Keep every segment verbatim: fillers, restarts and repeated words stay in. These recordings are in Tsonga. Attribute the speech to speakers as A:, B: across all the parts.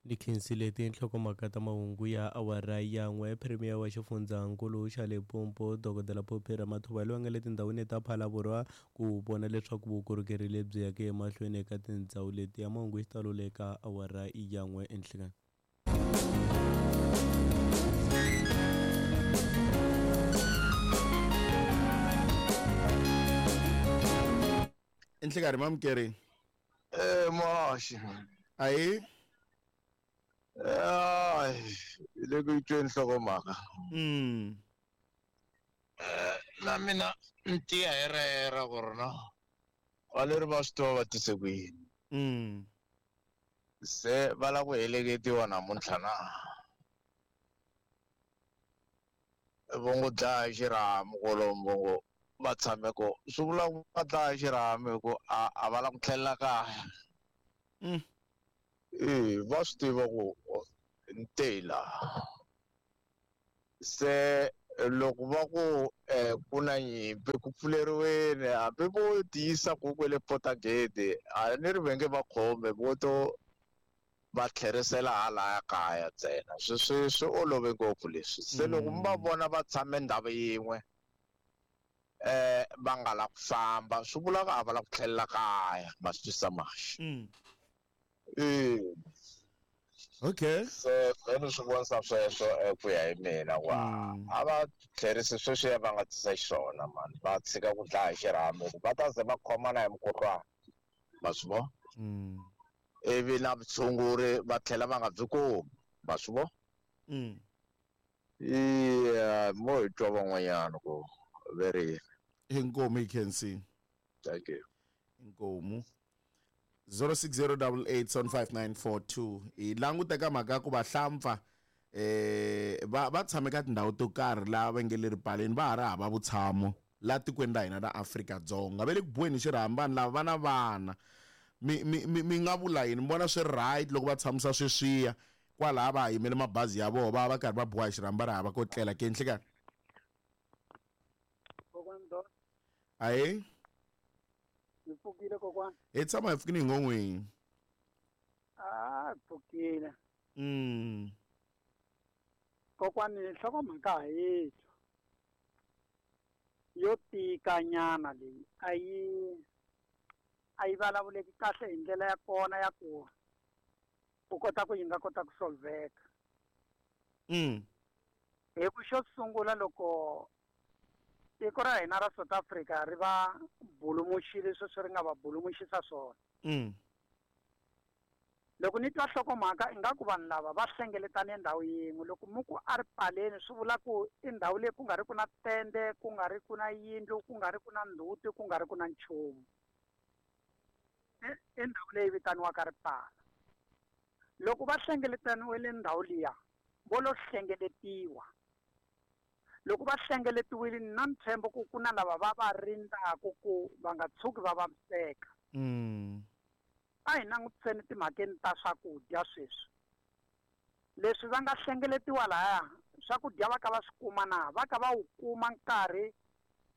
A: Ni khensile tinhlokomhaka ta mahungu ya awara ya n'we. Premier wa xifundzankulu xa Limpopo Dokodela Phophi Ramathuba loyi a nga le tindhawini ta Phalaborwa ku vona leswaku vukorhokeri lebyi yaka emahlweni eka tindhawu leti ya mahungu hi xitalo le ka awara ya n'we enhlekani.
B: Enhlekani mamukeri.
C: Eh moxi.
B: Ayi.
C: Ay, le ku tweni nhlokomhaka.
B: Mm.
C: Eh, na mina ni tiya hi rera ku ri no valeri va swi tiva va tise ku yini.
B: Mm.
C: Se va lava ku heleketiwa namuntlha na vo ngo dlaya xirhami kwalomu vo ngo va tshame ko swi vula ku va dlaya xirhami hi ku a a va lava ku tlhelela kaya.
B: Mm.
C: Eh, va swi tiva ku ni te laha se loko va ku eh, ku na nyimpi ku pfuleriweni hambi vo tiyisa ku kwele Potagate a ni ri ve nge va khome vo to va tlherisela halaya kaya ntsena swi swi swi olove ngopfu leswi se loko mi va vona va tshame ndhawu yin'we eh va nga la ku famba swi vula ku a va la ku tlhelela kaya ma swi twisisa maxi.
B: Mm.
C: Eh.
B: Okay.
C: Se ni swi vonisa sweswo ku ya hi mina ku a va tlherisi sweswiya va nga tisa xiswona mani va tshika ku dlaya xirhami va ta ze va khomana hi mukhuhlwana ma swi vona.
B: Mm.
C: Ivi na vutshunguri va tlhela va nga byi kumi ma swi vona.
B: Mm.
C: Iya mo hi twa van'wanyana ku ve ri yini.
B: Inkomu hi khensi.
C: Thank you.
B: Inkomu. zero six zero double eight seven five nine four two hi languteka mhaka ya ku vahlampfa eh va va tshame ka tindhawu to karhi laha va nge le ripaleni va ha ri hava vutshamo laha tikweni ra hina ra Afrika-Dzonga va le ku buweni xirhami vanhu lava va na vana mi mi mi mi nga vula yini mi vona swi right loko va tshamisa sweswiya kwalaha va ha yimele mabazi ya vona va va karhi va buwa hi xirhami va ri hava ko tlela ke nhlikani. Ayi.
D: Ni pfukile kokwana.
B: Hi tshama hi pfukile hi ngon'wini.
D: Ah, pfukile.
B: Mm.
D: Kokwani nhlokomhaka ha yi twa. Yo tika nyana leyi a yi a yi vulavuleki kahle hi ndlela ya kona ya ku u kota ku yi nga kota ku solveka.
B: Mm.
D: Hi ku xo sungula loko tiko ra hina ra South Africa ri va bulumuxile sweswi ri nga va bulumuxisa swona.
B: Mm.
D: Loko ni twa nhlokomhaka ingaku vanhu lava va hlengeletane ndhawu yin'we loko mi ku a ri paleni swi vula ku i ndhawu leyi ku nga ri ku na tende ku nga ri ku na yindlu ku nga ri ku na ndzhuti ku nga ri ku na nchumu. I ndhawu leyi vitaniwaka ripala. Loko va hlengeletaniwile ndhawu liya vo lo hlengeletiwa. Loko va hlengeletiwile na ntshembo ku ku na lava va va rindzaka ku va nga tshuki va vaviseka.
B: Mm.
D: A hi langutiseni timhakeni ta swakudya sweswi. Leswi va nga hlengeletiwa lahaya swakudya va ka va swi kuma na va ka va wu kuma nkarhi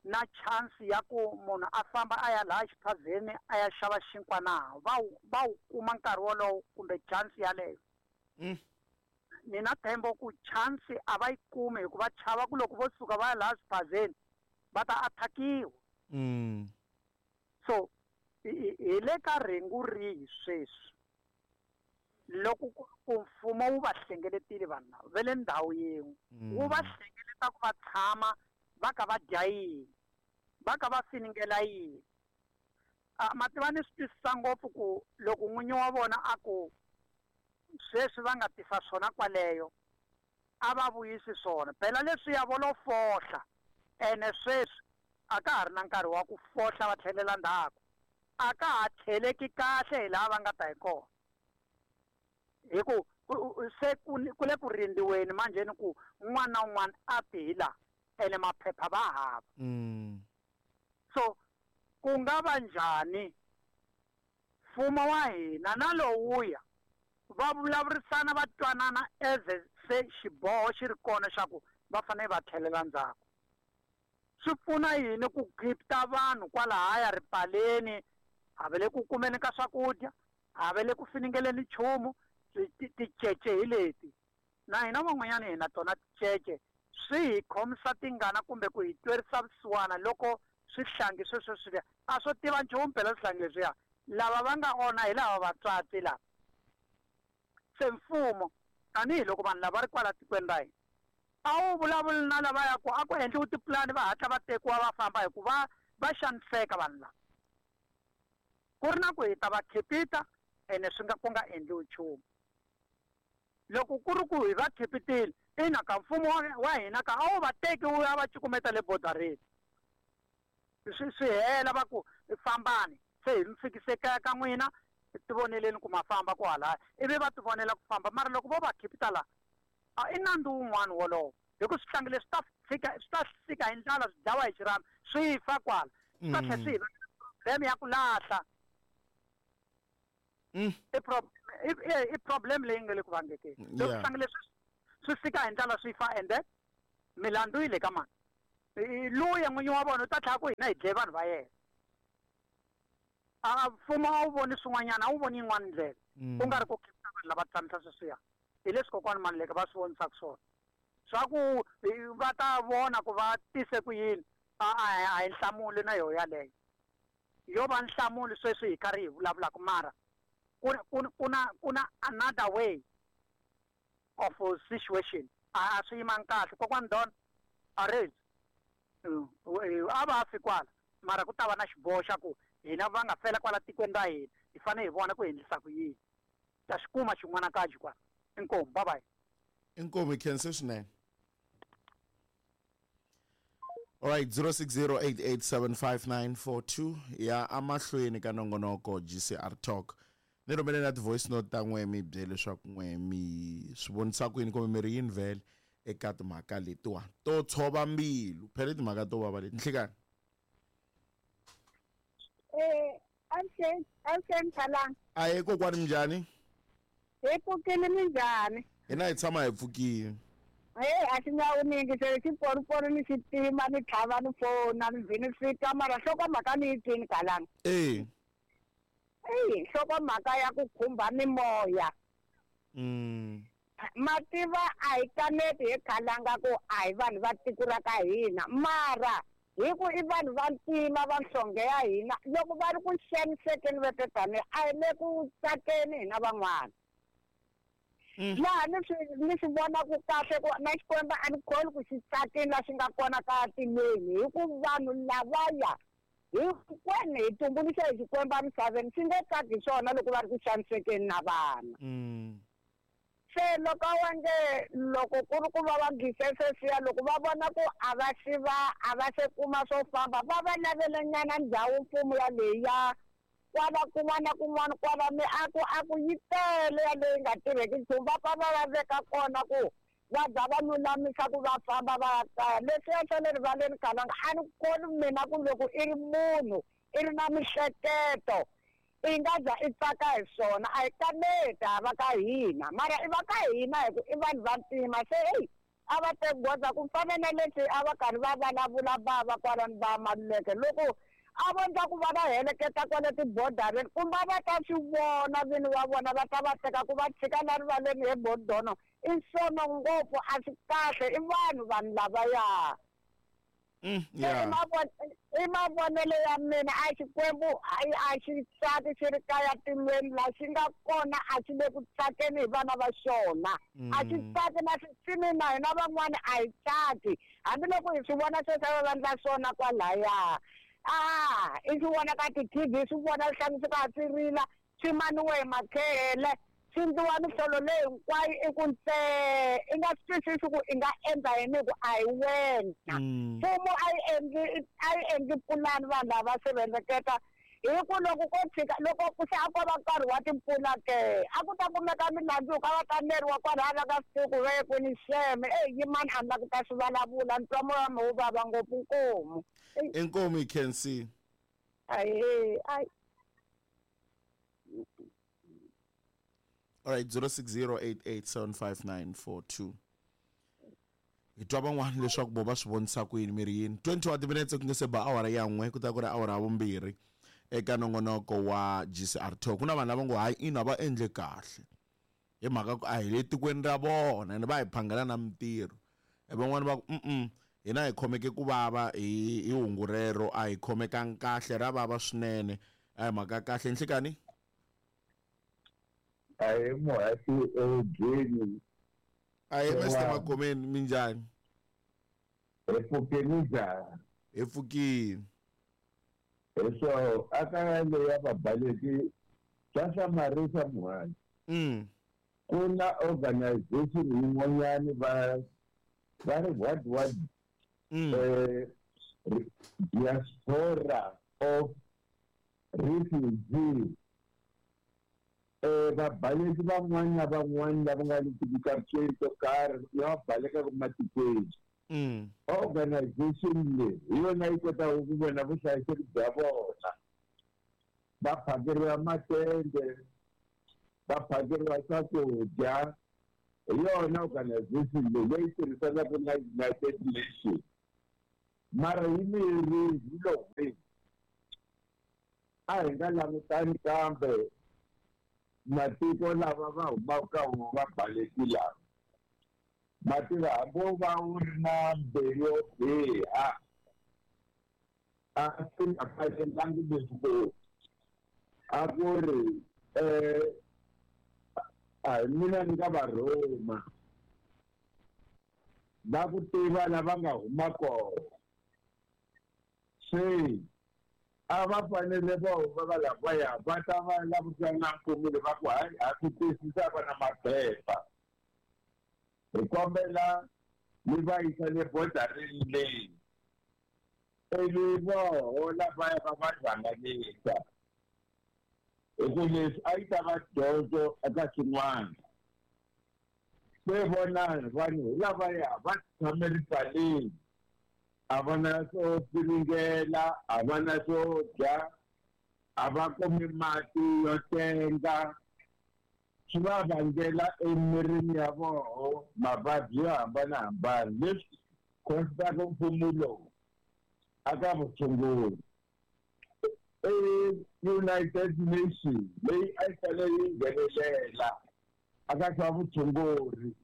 D: na chance ya ku munhu a famba a ya laha xiphazeni a ya xava xinkwa na va wu va wu kuma nkarhi wolowo kumbe chance yaleyo.
B: Mm.
D: Ni na ntshembo ku chance a va yi kumi hikuva chava ku loko vo suka va ya laha xiphazeni va ta attackiwa.
B: Mm.
D: So hi le ka rhengu rihi sweswi loko ku mfumo wu va hlengeletile vanhu lava va le ndhawu yin'we wu va hlengeleta ku va tshama va ka va dya yini va ka va finingela yini. A ma tiva ni swi twisisa ngopfu ku loko n'winyi wa vona a ku sweswi va nga tisa swona kwaleyo a va vuyisi swona phela leswiya vo lo fohla ene sweswi a ka ha ri na nkarhi wa ku fohla va tlhelela ndzhaku a ka ha tlheleki kahle hi laha va nga ta hi kona hi ku se ku le ku rindziweni manjheni ku un'wana na un'wana a ti hi laha ene maphepha va hava.
B: Mm.
D: So ku nga va njhani mfumo wa hina na lowuya va vulavurisana va twanana as se xiboho xi ri kona xa ku va fanele va tlhelela ndzhaku. Swi pfuna yini ku khipta vanhu kwalahaya ripaleni a va le ku kumeni ka swakudya a va le ku finingeleni nchumu Ticece hi leti na hina van'wanyana hi na tona ticece, swi hi khomisa tingana kumbe ku hi twerisa vusiwana loko swihlangi sweswo swi a swo tiva nchumu phela swihlangi leswiya. Lava va nga onha hi lava vatswatsi lava. Se mfumo tanihiloko vanhu lava ri kwala tikweni ra hina a wu vulavuli na lava ya ku a ku endliwi tipulani va hatla va tekiwa va famba hikuva va xaniseka vanhu lava. Ku ri na ku hi ta va khipita ene swi nga ku nga endliwi nchumu. Loko ku ri ku hi va khipitile ina ka mfumo wa hina ka a wu va teki wu ya va cukumeta le bodareni, swi swi hela va ku fambani se hi mi fikise kaya ka n'wina tivoneleni ku ma famba ku halaya, ivi va tivonela ku famba. Mara loko vo va khipita la a i nandzu wun'wana wolowo, hi ku swihlangi leswi ta fika swi ta fika hi ndlala swi dlawa hi xirhami swi fa kwala, swi ta tlhela swi hi vangela problem ya ku lahla. I problem i problem leyi nga le ku vangekeni. Loko swihlangi leswi swi fika hi ndlala swi fa ende milandzu yi le ka mani, luya n'winyi wa vona u ta tlhela ku hina hi dlaye vanhu va yena. A mfumo a wu voni swin'wanyana, a wu voni yin'wana ndlela ku nga ri ku khipita vanhu lava tshamisa sweswiya. Hi leswi kokwani Maluleke va swi vonisaka swona swa ku va ta vona ku va tise ku yini. A a hi nhlamulo na yoho yaleyo, yo va nhlamulo sweswi hi karhi hi vulavulaka, mara ku ku ku na ku na another way of situation. A swi yimanga kahle kokwani Don arrange a va fi kwala, mara ku ta va na xiboho xa ku hina va nga fela kwala tikweni ra hina hi fanele hi vona ku endlisa ku yini. Ta xi kuma xin'wana kaji kwala. Inkomu, bye bye.
B: Inkomu, hi khense swinene. All right, zero six zero eight eight seven five nine four two ya amahlweni ka nongonoko G C R Talk. Ni rhumele na ti-voice note ta n'we mi byele leswaku n'we mi swi vonisa ku yini kumbe mi ri yini vhele eka timhaka letiwa to tshova mbilu. Phela timhaka to vava leti. Nhlikani.
E: Eh, avuxeni, avuxeni Thalanga.
B: Ahee kokwani, minjhani?
E: Hi pfukile, minjhani?
B: Hina hi tshama hi pfukile.
E: Hey, a xi nga wuningi se xiporipori ni xitima ni tlhava ni fona ni vhini fika, mara nhlokomhaka ni yi twini Kalanga.
B: Eh.
E: Eyi, nhlokomhaka ya ku khumba mimoya.
B: Mm.
E: Mativa a hi kaneti hi Kalanga ku a hi vanhu va tiko ra ka hina, mara hi ku i vanhu va ntima va nhlonge ya hina, loko va ri ku xanisekeni va tani a hi le ku tsakeni hina van'wana. Laha ni swi ni swi vonaku kahle ku na Xikwembu a ni kholi ku xi tsakini la xi nga kona ka tilweni, hi ku vanhu lavaya hinkwenu hi tumbuluxe hi Xikwembu emisaveni xi nge tsaki hi swona loko va ri ku xanisekeni na vana. Se loko wa nge loko ku ri ku va va gise sweswiya, loko va vona ku a va xi va a va se kuma swo famba, va va lavelenyana ndhawu mfumo yaleyi ya kwala kun'wana na kun'wana kwala miako a ku yi tele yaleyi nga tirheki nchumu, va pfa va va veka kona ku va za va lulamisa ku va famba va ya kaya. Leswiya swa le rivaleni Kalanga a ni kholwi mina ku loko i ri munhu i ri na mihleketo i nga za i tsaka hi swona. A hi kaneti a va ka hina, mara i va ka hina hi ku i vanhu va ntima. Se eyi a va teki goza ku fana na leswi a va karhi va vulavula bava kwalani va Maluleke, loko a vo ndla ku va va heleketa kwale tibodareni kumbe va ta swi vona vini va vona va ta va teka ku va tshika la rivaleni hi bodono. I sono ngopfu, a swi kahle, i vanhu vanhu lavaya.
B: Mm, yeah.
E: I mavonelo ya mina a Xikwembu a xi tsaki xi ri kaya tilweni la xi nga kona a xi le ku tsakeni hi vana va xona. A xi tsaki na switsini na hina van'wana a hi tsaki, hambiloko hi swi vona sweswi va vandla swona kwalaya. Ah, i swi vona ka ti-T V, swi vona swi hlanganisiwa swi rila swi maniwe hi makhele, swi ndliwa mihlolo leyi hinkwayo i ku ntsee i nga swi twisisi ku i nga endla yini hi ku a hi wena. Mfumo a yi endli a yi endli pulani vanhu lava sirheleketa, hi ku loko ko tshika loko ku se a ko va nkarhi wa timpfula ke a ku ta kumeka milandzu ka va kaneriwa kwalaya va ka swi tivi ku ve kwini xeme. Eyi yimani a ni la ku ta swi vulavula, ni twa moya wa mina wu vava ngopfu. Nkomu.
B: Inkomu, hi khensile.
E: Ahee, ayi.
B: All right, zero six zero eight eight seven five nine four two. Hi twa van'wana leswaku vo va swi vonisa ku yini mi ri yini. twenty-one minutes ku nga se ba awara ya n'we ku ta ku ri awara ya vumbirhi eka nongonoko wa G C R Talk. Ku na vanhu lava ngo hayi ina va endle kahle. Hi mhaka ku a hi le tikweni ra vona ene va hi phangela na mintirho. Van'wani va ku mm hina hi khomeke ku vava hi hi hungu rero a hi khomekangi kahle ra vava swinene. A hi mhaka kahle nhlikani.
F: A hi muhasi edyeni.
B: A hi Mister Magomeni minjhani?
F: Hi pfukile njhani?
B: Hi pfukile.
F: Hi swo aka leya vabaleki swa hlamarisa muhasi.
B: Mm.
F: Ku na organization yin'wanyani va va ri what what
B: mm.
F: eh, diaspora of refugees. Eh, vabaleki van'wani na van'wani lava nga le tikatweni to karhi lava balekaka matikweni.
B: Mm.
F: Organization leyi hi yona yi kotaka ku vona vuhlayiseki bya vona. Va phakeriwa matende, va phakeriwa swakudya. Hi yona organization leyi leyi tirhisanaka na United Nations. Mara yi miyerile hi lo hwini. A hi nga langutani kambe matiko lava va humaka ka wona va baleki lava. Mativa hambi wo va wu ri na mbilu yo biha a swi nga fanelangi leswi ku a ku ri eh a hi mina ni nga va rhuma va ku tiva lava nga huma kona. Se a va fanele va huma va lavaya va ta va lavisana na mfumo va ku hayi ha swi twisisa va na maphepha. Hi kombela mi va yisa le bodarini leyi ivi voho lavaya va va rhanganisa. Hi ku leswi a yi ta va dyondzo eka swin'wana. Se vonani vanhu hi lavaya va tshame ripaleni a va na swo piringela, a va na swo dya, a va kumi mati yo tenga. Swi va vangela emirini ya voho mavabyi yo hambanahambana leswi khosaka mfumo lowu aka vutshunguri. E United Nations leyi a yi fanele yi nghenelela aka swa vutshunguri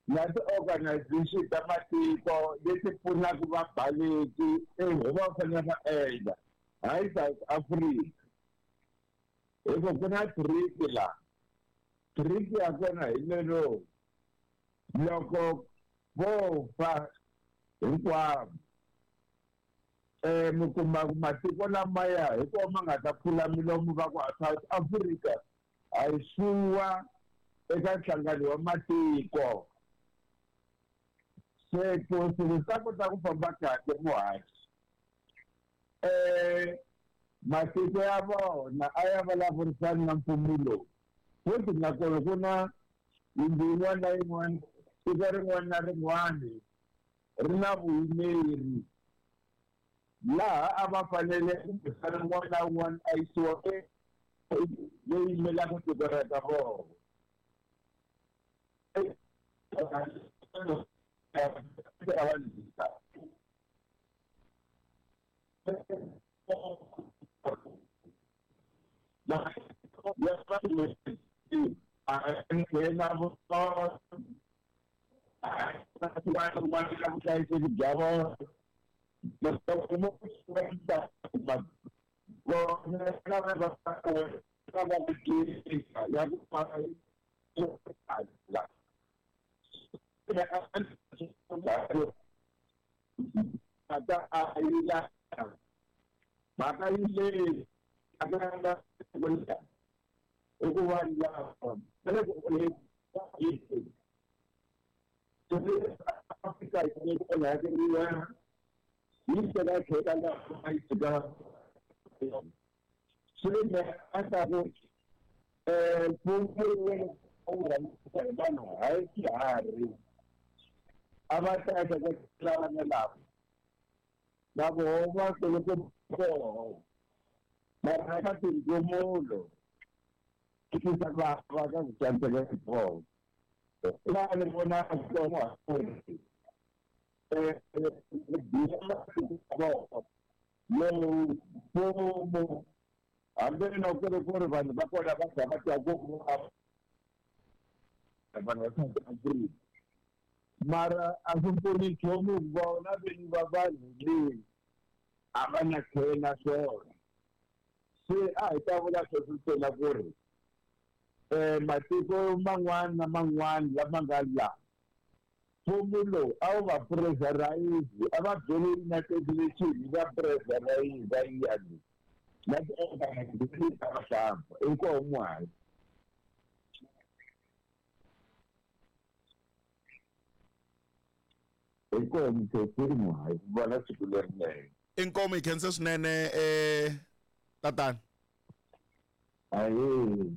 F: na ti-organization ta matiko leti pfunaka vabaleki e va fanele va endla hayi South Africa. Hi ku ku na trick la trick ya kona hi lero loko vo fa hinkwavo eh mi kuma ku matiko lamaya hi kona ma nga ta pfula milomu va ku South Africa a yi suwa eka nhlangano wa matiko. Se ku swilo swi ta kota ku famba kahle muhaxi. Eh matiko ya vona a ya vulavurisani na mfumo lowu. Futhi nakona ku na yindlu yin'wana na yin'wana tiko rin'wana na rin'wana ri na vuyimeri laha a va fanele kumbexana un'wana na un'wana a yisiwa leyi yimelaka tiko ra ka vona. Vanhu va South Africa mara a swi pfuni nchumu vona vinyi va vanhu leyi a va na care na swona. Se a hi ta vula sweswo ntsena ku ri um matiko man'wana na man'wana lama nga laha mfumo lowu a wu va pressurize, a va byele United Nation yi va pressurize yi ya le na ti-organization ta vahlampfa. Inkomu hayi. Inkomu khensile hayi ku vona siku lerinene.
B: Inkomu hi khensa swinene eh tatana.
F: Ahee.